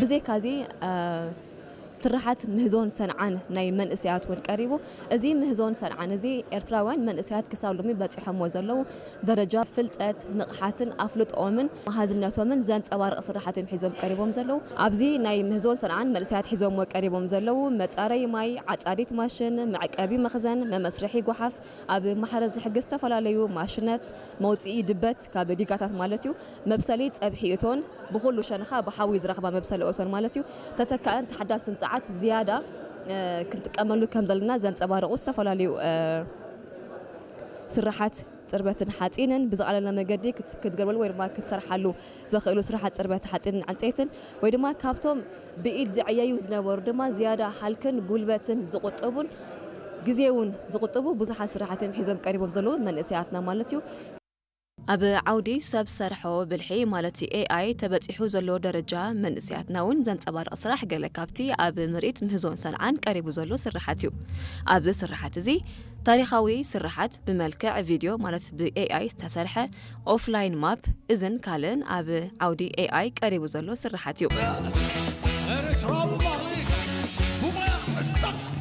ብዘይካዚ ስራሓት ምህዞን ሰንዓን ናይ መንእሰያት እውን ቀሪቡ። እዚ ምህዞን ሰንዓን እዚ ኤርትራውያን መንእሰያት ክሳብ ሎሚ በፂሖምዎ ዘለዉ ደረጃ ፍልጠት፣ ንቕሓትን ኣፍልጦኦምን መሃዝነቶምን ዘንፀባርቕ ስራሓት እዮም ሒዞም ቀሪቦም ዘለዉ። ኣብዚ ናይ ምህዞን ሰንዓን መንእሰያት ሒዞምዎ ቀሪቦም ዘለዉ መፃረይ ማይ፣ ዓፃዲት ማሽን፣ መዕቀቢ መኽዘን፣ መመስርሒ ጓሓፍ፣ ኣብ ማሕረስ ዝሕግዝ ዝተፈላለዩ ማሽነት፣ መውፅኢ ድበት ካብ ዲጋታት ማለት እዩ፣ መብሰሊ ፀብሒ እቶን፣ ብኹሉ ሸነኻ ብሓዊ ዝረኽባ መብሰሊ እቶን ማለት እዩ። ተተካእን ተሓዳስን ጸዓት ዝያዳ ክንጥቀመሉ ከም ዘለና ዘንጸባርቑ ዝተፈላለዩ ስርሓት ጽርበትን ሓጺንን ብዝቐለለ መገዲ ክትገርበሉ ወይ ድማ ክትሰርሓሉ ዘኽእሉ ስርሓት ጽርበት ሓጺንን ዕንፀይትን ወይ ድማ ካብቶም ብኢድ ዝዕየዩ ዝነበሩ ድማ ዝያዳ ሃልክን ጉልበትን ዝቑጥቡን ግዜ እውን ዝቑጥቡ ብዙሓት ስራሕት እዮም ሒዞም ቀሪቦም ዘለዉ መንእሰያትና ማለት እዩ። ኣብ ዓውዲ ሰብ ሰርሖ ብልሒ ማለት ኤኣይ ተበጺሑ ዘሎ ደረጃ መንእሰያትና እውን ዘንጸባርቕ ስራሕ ገለ ካብቲ ኣብ ምርኢት ምህዞን ሰንዓን ቀሪቡ ዘሎ ስርሓት እዩ። ኣብዚ ስርሓት እዚ ታሪኻዊ ስርሓት ብመልክዕ ቪድዮ ማለት ብኤኣይ ዝተሰርሐ ኦፍላይን ማፕ እዝን ካልእን ኣብ ዓውዲ ኤኣይ ቀሪቡ ዘሎ ስርሓት እዩ።